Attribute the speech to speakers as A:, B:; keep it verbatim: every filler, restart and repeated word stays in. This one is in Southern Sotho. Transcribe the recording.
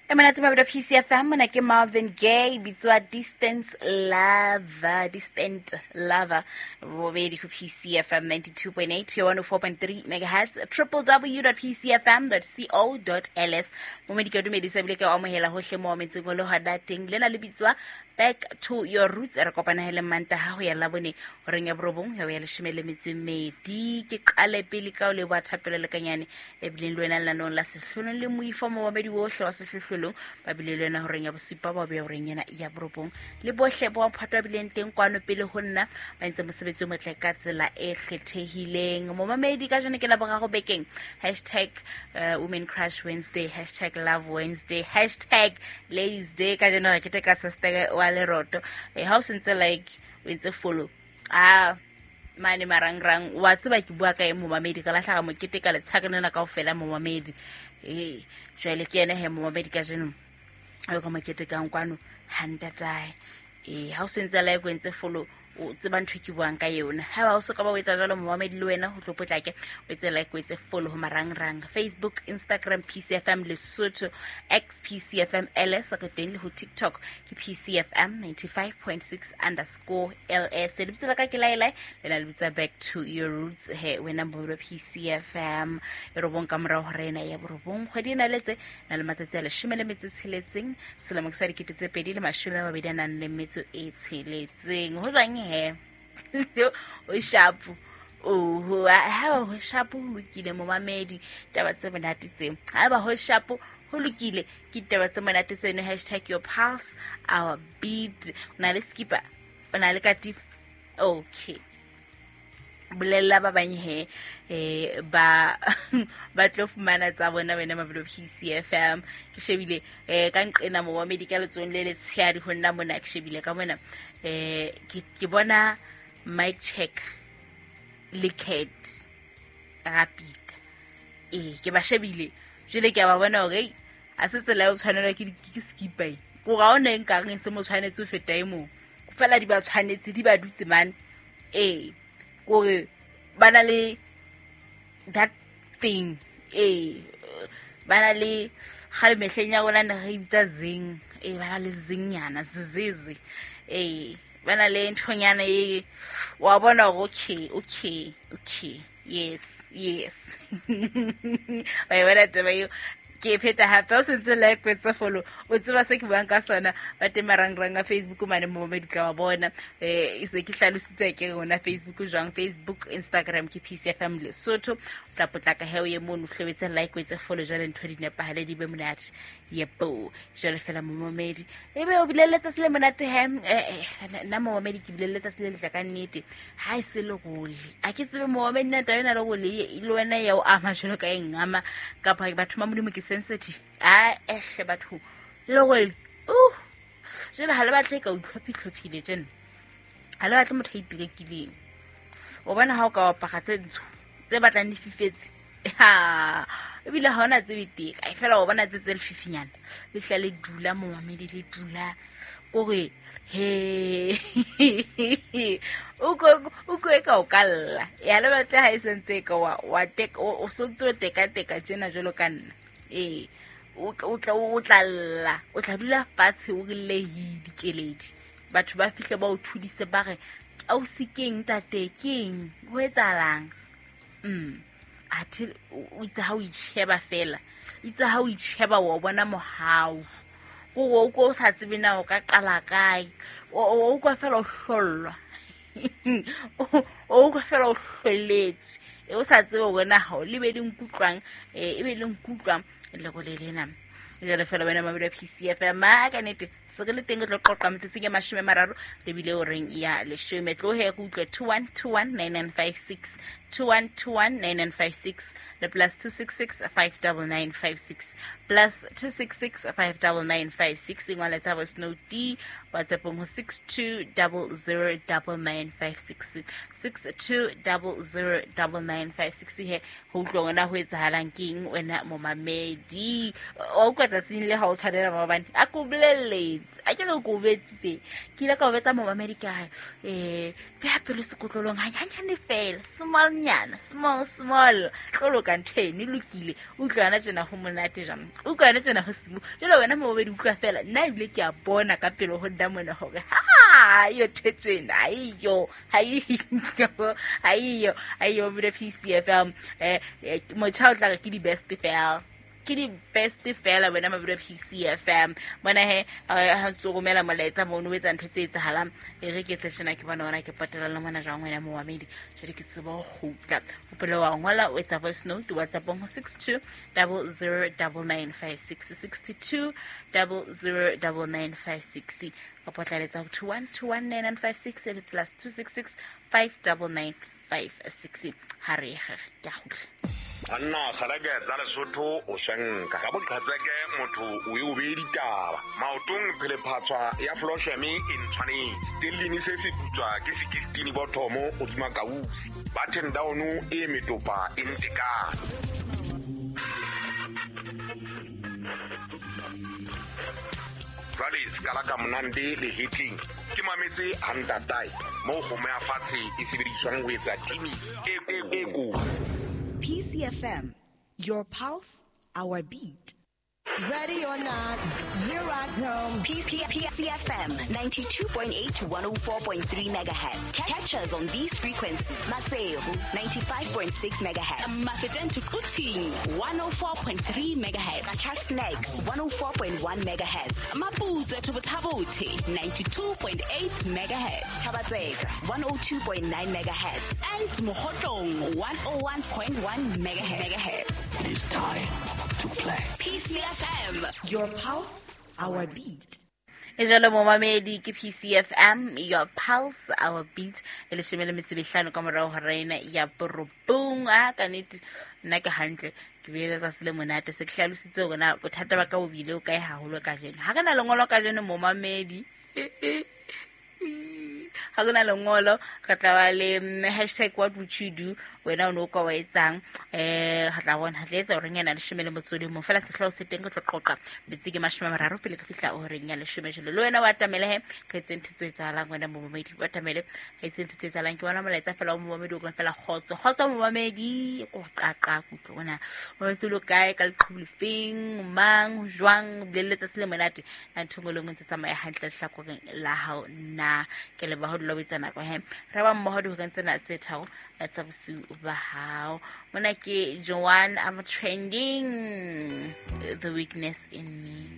A: E monate mabelo P C F M, mona ke Marvin Gaye bitswa Distance Lover, Distant Lover, bobedi ho P C F M ninety-two point eight, one oh four point three megahertz, w w w dot p c f m dot co dot l s. Momedi ke dumedisa ebile ke o amohela hohle mo metseng o le hona teng. Lena le bitswa Back to Your Roots. Re kopana hele Mantaha ho ya Labone horeng ya borobong ya leshome le metso e mmedi. Ke qale pele ka o leboha Thapelo Lekanyane ebileng le wena lenanong la Sehlohlolong le moifo momamedi wohle wa Sehlohlolong ba bile le wena horeng ya bosupa ba be horeng ena ya borobong le bohle bo mphato ba bileng teng kwano pele ho nna ba entse mosebetsi o motle ka tsela e kgethehileng. Momamedi ka jeno ke la boraro bekeng, hashtag uh, Women Crush Wednesday, hashtag Love Wednesday, hashtag Ladies Day. Ka jeno re keteka sister wa Leroto. Eh, ha o sentse like o entse follow ah mane marangrang wa tseba ke bua ka e momamedi ka lahla mokete ka letshakana na kaofela momamedi. Eh jwale ke ene he momamedi ka jeno o ka mokete ka nkwano hantatae. Eh ha o sentse like o entse follow o tseba ntho ke buang ka yona. Ha ba o soka ba o etsa jwalo momamedi le wena ho tlo potlake o etse like o etse follow ho marangrang Facebook, Instagram P C F M Lesotho, X P C F M L S ka teng le ho TikTok ke P C F M ninety-five point six underscore L S. Lebitso la ka ke Laelai, le la lebitso Back to Your Roots he wena mbolo P C F M e robong ka morao hore ena ya borobong kgwedi ena letse na le matsatsi a leshome le metso e tsheletseng selemo ke sa dikete tse pedi le mashome a mabedi a nang le metso e tsheletseng. Ho jwang he o shapo o ha ho shapo ho lokile momamedi taba tse monate tseo. Ha ba ho shapo ho lokile ke taba tse monate tseno. Hashtag your pulse our beat. O na le skipper, o na le katiba, okay bolella ba bang he eh ba ba tlo fumana tsa bona wena mabelo P C F M. Ke shebile eh ka nqena momamedi ka letsong le letshehadi ho nna mona ke shebile ka mona eh ke ke bona mic check le cat rapid eh ke ba shebile jwale ke a ba bona hore a se tsela o tshwanelwa ke ke skipper ko ga ona nka reng se mo tshwanetse ho feta e mong fela di ba tshwanetse di ba dutse man eh kore ba na le that thing eh ba na le gale mehleng ya rona ne re bitsa zing eh ba na le zingnyana zizizi eh ba na le nthonyana e wa bona hore okay okay okay yes yes ba e bona taba eo ke pheta hape o sentse like o tse follow o tseba se ke buang ka sona ba teng marangrang a Facebook mane mo ba ditla wa bona eh se ke hlalositse ke rona Facebook jwang Facebook Instagram ke P C F M Lesotho. O tla potlaka he o ye mono hlobetse like o etse follow jwale ntho di nepahale di be monate yebo jwale fela momamedi ebe o bileletsa se le monate he eh nna momamedi ke bileletsa se le letla ka nnete ha e se le gole a ke tsebe momamedi nna taba ena le gole le wena ya o ama jwalo ka eng ama kapa batho ba Modimo ke sensitive a ehle batho le gore uh jela ha le batle ka utlhophi-tlhophile tjena ha le batle motho a itirekileng o bona ha o ka apara tse ntsho tse batlang di fifetse ha ebile ha ona tse beteka e fela o bona tse tse lefifinyana le tla le dula momamedi le dula kore he o ko o ko e ka o kalla ya le batle ha e sentse ka wa wa tek o sontse o teka teka tjena jwalo ka nna eh o tla o tla lla o tla dula fatshe o rile dikeledi batho ba fihle ba o thudise ba re au sikeng tate keng ho etsahalang mm athe o itse ha o itsheba fela itse ha o itsheba wa bona mohau ko o ko sa tsebe na o ka qala kae o o kwa fela o hlollwa o kwa fela o hloletse e o sa tsebe wena ha o lebe le nkutlwang e be le nkutlwang le go le lena jale fela wena mabelo P C F M ma ka nete se re le teng re tlo qoqa metsotsong ya mashome a mararo re bile o reng ya leshome tlo he go utlwe two one two one nine nine five six two one two one nine nine five six le plus two six six five nine nine five six plus two six six five nine nine five six ingwala tsa voice note D WhatsApp ho six two zero zero nine nine five six six two zero zero nine nine five six he ho utlwa wena ho etsahalang keng wena momamedi o utlwa tsatsing le ha o tshwanela maobane a ko bolelletse a ke re ko betsitse ke ile ka o betsa momamedi ka eh beha pelo sekotlolong hanyane fela small nyana small small tlolo ka ntho eno e lokile utlwana tjena ho monate jang utlwana tjena ho simo jalo wena momamedi utlwa fela nna ebile ke a bona ka pelo ho nna mona hore ha yo thetsena ayo ayo ayo ayo bile P C F M eh motjha o tla ke di best fela ke di best fela wena mabelo P C F M bona he ha tso romela molaetsa mono o etsa ntho tse etsahalang e re ke seshena ke bona ona ke patela le mona jwang wena momamedi jwale ke tseba ho kgutla hopole wa ngola o etsa voice note WhatsApp ho six two zero zero nine nine five six six two zero zero nine nine five six kapa tlaletsa ho two one two one nine nine five six le plus two six six five nine nine five six ha re ge ke a kgutla.
B: Anna kgalake tsa Lesotho o shanka ka boqhatseke motho o e o be ditaba maotong phele phatswa ya flosheme e ntshwanetse stellini se se putswa ke sixteen bothomo o tsuma kausi button down e metopa e ntekana. Jwale skala ka monande le hitting ke mametse hantatai mo kgomo ya fatshe e sebediswang ho etsa timi e e ko.
C: P C F M, your pulse, our beat.
D: Ready or not, here I come.
E: P C F M ninety-two point eight to one oh four point three megahertz. Catch us on these frequencies. Maseru ninety-five point six megahertz.
F: Mafeteng to Quthing one oh four point three megahertz.
E: Qacha's Nek one oh four point one megahertz.
F: Maputswe to Botha ninety-two point eight megahertz.
E: Thaba-Tseka one oh two point nine megahertz.
F: And Mokhotlong one oh one point one megahertz.
G: It is time to play.
F: P C F M,
C: your pulse, our beat.
A: E jalo momamedi ke P C F M, your pulse, our beat. E leshome le metso e mehlano ka morao ho rena ya borobong. A ka nnete nna ke hantle ke bile letsatsi le monate se ke hlalositse hore na bothata ba ka bo bile o kae haholo kajeno. Ha re na lengolo kajeno momamedi, ha re na lengolo re tla ba le hashtag what would you do wena o no ka wa etsang eh ha tla bona ha tla etsa hore nyana leshome le motso le mong fela sehlooho se teng re tlo qoqa metsi ke mashome a mararo pele ka fihla horeng ya leshome jalo le wena wa tamele he re etse ntho tse etsahalang wena momamedi wa tamele re etse ntho tse etsahalang ke bona molaetsa fela o momamedi o reng fela kgotso kgotso momamedi ko qaqa kutlo ona o etse lo kae ka leqhubu lefeng mang jwang bolelletsa se le monate na ntho ngwe le ngwe tse tsamaya hantle lehlakoreng la hao na ke le ba ho dula o etsa nako he re ba mmoho dihoreng tsena tse tharo tsa bosiu ba hao. Mona ke Joanne, I'm trending the weakness in me.